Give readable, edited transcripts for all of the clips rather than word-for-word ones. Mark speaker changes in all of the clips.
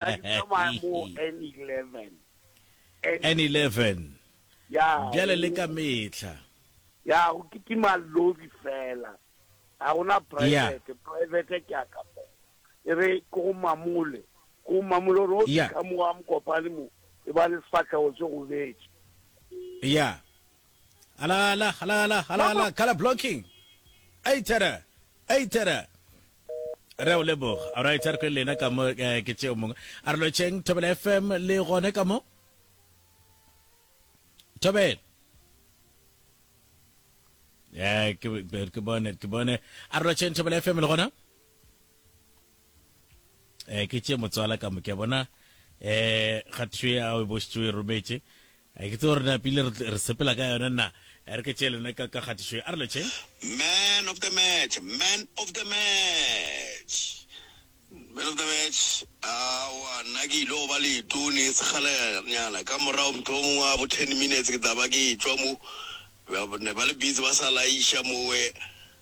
Speaker 1: Nna ke tsamaya mo N11.
Speaker 2: N11.
Speaker 1: Ya.
Speaker 2: Bjale le ka mehla.
Speaker 1: Ya, go kitima lori fela. Ga gona private, private ke a ka fela. E re ke go mamole, ke go mamole gore o fihla mo ga Mokopane mo, e ba le sefahlego se gobetše.
Speaker 2: Ya. Ala ala ala ala ala ala color blocking. Eitera. Eitera. Re a o leboga. Alright, a re kwe lena ka mo eh, ke tšeo mongwe. A re lotšheng Thobela FM le gone ka mo. Thobela. Eh, ke ke bone, ke bone. A re lotšheng Thobela FM le gona. Eh, ke tše motswala ka mo ke bona eh kgatišo ya o e bošitše o e rometše A ke tsebe gore napile re sepela ka yona na. Re ke tšee lena ka ka kgatišo ye. A re lotšheng.
Speaker 3: Man of the match, man of the match, man of the match. Aowa, nna ke ile go ba leetong e sekgalanyana ka morago mohlomongwe wa bo ten minutes ke tla ba ke etšwa mo. Ba ne ba le busy ba sa laiša mowe.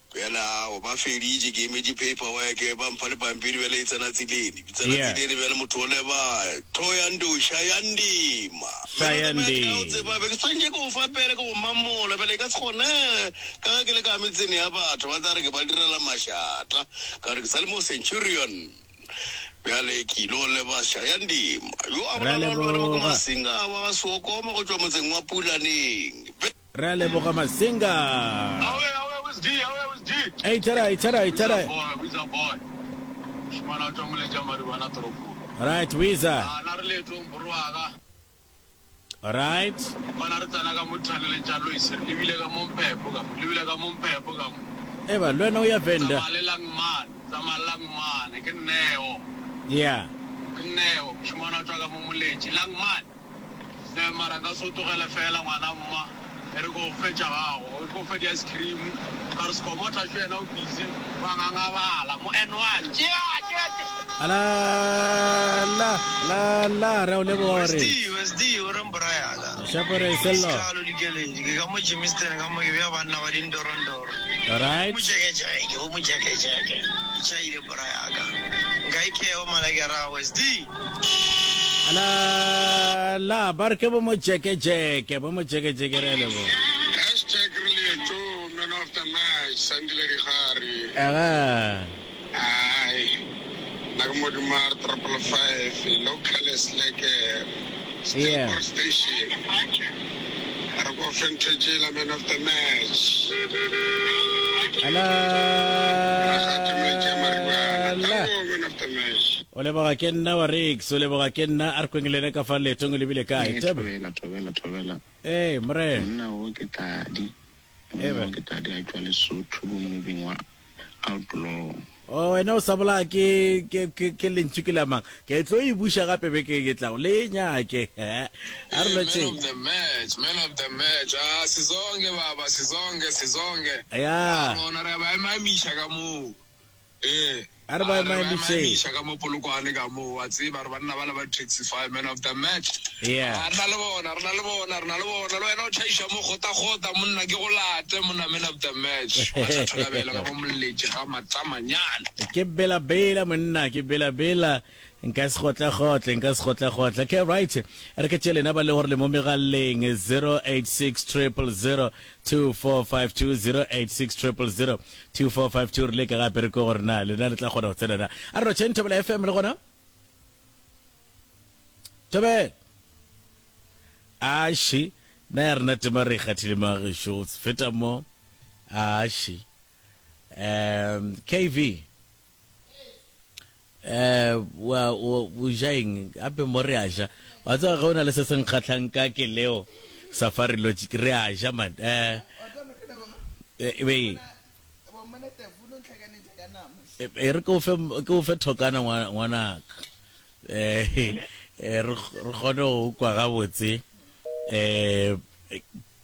Speaker 3: Bjale ao, ba feditše, ke emetše paperwork, ba mpha le pampiri bjale e tsena tseleni. Ke tsena
Speaker 2: Yeah.
Speaker 3: tseleni bjale motho o leba Thohoyandou, Shayandima. Man of the match, ka o
Speaker 2: Shayandima.
Speaker 3: tseba, be ke swanetše ke go fa pele ke go mamola, bjale e ka se kgonege ka ge ke le ka metseng ya batho, ba tla re ke ba direla mašata, ka gore ke sa le mo Centurion. Bjale ke ile go leba Shayandima, yo a
Speaker 2: Re a
Speaker 3: bolelago le wena mo ke
Speaker 2: leboga.
Speaker 3: Masinga wa ga Seokoma go tšwa motseng wa Pulaneng.
Speaker 2: Re a leboga Masinga.
Speaker 4: Awe awe who's D awe who's D.
Speaker 2: Hey tara tara tara.
Speaker 4: Wiza boy Wiza boy. Mošemane a tšwa moletša Maribana toropong.
Speaker 2: Right Wiza.
Speaker 4: A na re leetong bro wa ka.
Speaker 2: Right.
Speaker 4: Kwana re tsena ka mo tunneleng tša Lois re lebile ka mo Mphepho ka mo lebile ka mo Mphepho ka mo.
Speaker 2: Eba le wena o ya Venda.
Speaker 4: Tsamaya le Langman tsamaya le Langman ke Neo.
Speaker 2: Yeah.
Speaker 4: Ke Neo mošemane a tšwa ka mo Moletši Langman. Hle mara nka se o tlogele fela ngwana mma e re ko fe tša gago e ko fe di ice cream ka re skomotha šo yena o busy wa ngangabala mo N1 tšea tšea tšea.
Speaker 2: La la la la re o leboga gore
Speaker 5: Westy, Westy, o reng bra ya ka?
Speaker 2: Shapore Sello.
Speaker 5: Sekalo dikeledi, ke ka mo Germiston ka mo ke bea banna ba dindorondoro.
Speaker 2: Alright.
Speaker 5: Mojekejeke, o mojekejeke. Ke tšhaile bra ya ka. Nka ikeo mala ke ra Westy.
Speaker 2: La la ba re ke bo mojekejeke bo mojekejeke re a leboga.
Speaker 6: Hashtag re leeto man of the match Sandile Digari.
Speaker 2: Aga.
Speaker 6: Ai nna ke Modumar 555 local Sleke
Speaker 2: Yeah.
Speaker 6: Steelpoort Station. Re ko Fentejela man of the match.
Speaker 2: La
Speaker 6: Rakgadi Moletši ya Maribana.
Speaker 2: la.
Speaker 6: Tango man of the match.
Speaker 2: O leboga ke nna wa Rex, o leboga ke nna a re kweng le ene ka fa leetong o lebile kae.
Speaker 7: Ee,
Speaker 2: Tebe.
Speaker 7: thobela, thobela, thobela.
Speaker 2: Ee, morena.
Speaker 7: Monna wo ke Tadi. Monna
Speaker 2: Ebe.
Speaker 7: wo ke Tadi a tšwa Lesotho bomobing wa Outlaw.
Speaker 2: O wena o sa bolaya ke ke ke ke lentšu ke la mang? Ke tlo e buša gape beke e tlago. Le e nyake. A re
Speaker 6: Hey, man
Speaker 2: lotšheng.
Speaker 6: of the match, man of the match. Ah, sizonke baba, sizonke, sizonke.
Speaker 2: Ya.
Speaker 6: Ah, rona re a ba emaemiša ka moo. Ee,
Speaker 2: A re ba
Speaker 6: a re ba
Speaker 2: emaemišeng.
Speaker 6: emaemiša ka mo Polokwane ka moo, wa tseba, re banna bale ba Taxify, man of the match.
Speaker 2: Yeah.
Speaker 6: A re na le bona, re na le bona, re na le bona. Le wena o tšhaiša mo kgotakgota, monna, ke go late, monna, man of the match. Wa sa tholabela ka mo Moletši ga Matsamanyana.
Speaker 2: Ke bela-bela, monna, ke bela-bela. Nka se gotle-gotle, nka se gotle-gotle. Okay, right. Re ke tše lena ba le gore le mo megaleng 086 000 2452 086 000 2452 re leke gape re kwe gore na lena le tla kgona go tsena na. A re rotšheng Thobela FM le gona? Thobela. Aši, na ya rena tema re e kgathile magešo, feta mo. Aši. Um, KV. Eh, wa o o ja eng gape mo re a ja wa tseba ge o na le se se nkgatlhang ka ke leo safari lodge re a ja man eh eh, be e re ke o fe ke o fe thokana ngwanaka eh eh, re re kgone go kwa gabotse eh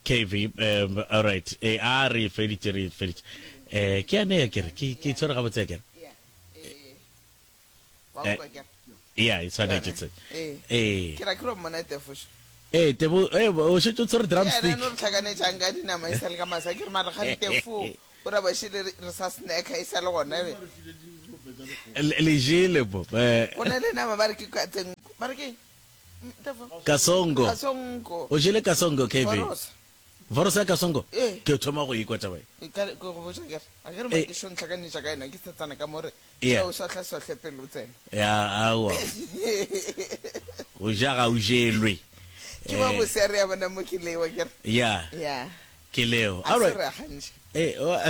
Speaker 2: KV um all right eh a re feditše re feditše eh ke ane ya kere ke ke tshwere gabotse ya kere
Speaker 8: Wa utlwa ke re?
Speaker 2: Ya, e tshwanetše tse.
Speaker 8: Ee.
Speaker 2: Ee.
Speaker 8: Ke ra ke ro mmona Tefo šo.
Speaker 2: Ee, Tefo, ee, o šetše o tshwere drumstick.
Speaker 8: Yena no re tlhakanetšang ka dinama e sa le ka masa. Ke re mara ga Tefo o ra ba šele re sa snacka e sa le gona.
Speaker 2: Le jele bo. Eh.
Speaker 8: Go na le nama ba re ke ka ba re ke
Speaker 2: Kasongo.
Speaker 8: Kasongo.
Speaker 2: O jele kasongo KV.
Speaker 8: Vorosa.
Speaker 2: Vorosa ya kasongo?
Speaker 8: Ee.
Speaker 2: Ke thoma go ikwa taba
Speaker 8: e. Ka ke go botša ke re, a ke re
Speaker 2: Eh.
Speaker 8: ke šo ntlhakanetša ka yena ke setsana ka mo re
Speaker 2: Yeah.
Speaker 8: o sohla sohle pele o tsena.
Speaker 2: Ya aowa. Go ja ga o jelwe.
Speaker 8: Ke ba
Speaker 2: Eh.
Speaker 8: bose re ya bona mo ke lewa ke re.
Speaker 2: Ya.
Speaker 8: Ya.
Speaker 2: Ke leo.
Speaker 8: A
Speaker 2: All
Speaker 8: se
Speaker 2: right.
Speaker 8: re gantši.
Speaker 2: Eh, o-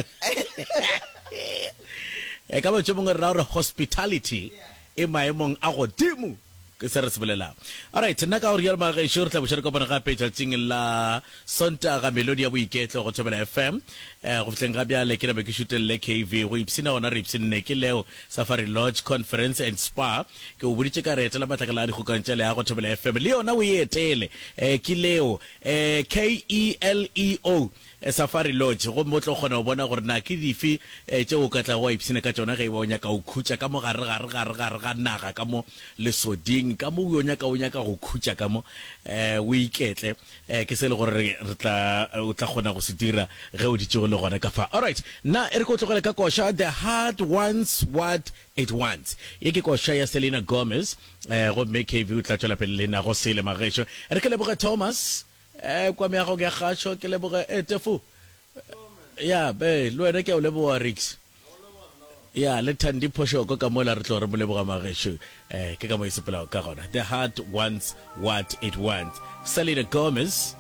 Speaker 2: e ka ba tše mongwe re ra gore hospitality e maemong a godimo ke se re se bolelago. Alright, nna ka gore rialo magešo re tla boša re kopana gape tšatšing la Sontaga melodi ya boiketlo go Thobela FM. Eh, go fihleng ga bjale ke nabe ke šutelele KV go ipshina gona re ipshinne ke leo Safari Lodge Conference and Spa. Ke o boditše ka re etela matlakala a dikgokang tša leago Thobela FM le yona o e etele. Eh, ke leo eh, K-E-L-E-O Safari Lodge gomme o tlo kgona go bona gore na ke dife tšeo o ka tlago wa ipshina ka tšona ge e ba o nyaka go khutša ka mo gare gare gare gare ga naga ka mo lesoding ka mo o nyaka o nyaka go khutša ka mo o iketle. Ke se e le gore re tla o tla kgona go se dira ge o ditšego le gona ka fa. Alright, nna e re ke o tlogele ka koša The Heart Wants What It Wants. Ye ke koša ya Selena Gomez gomme KV o tla tšwela pele le na go sele magešo. E re ke leboge Thomas Eh, kwa meagong ya kgašo ke leboge eh, Tefo. Ya, be, le wena ke a o leboga Rix. Ya, le Thandi Phošoko ka mola re tlo re mo leboga magešo. Eh, ke ka mo e sepelago ka gona. The heart wants what it wants. Selena Gomez.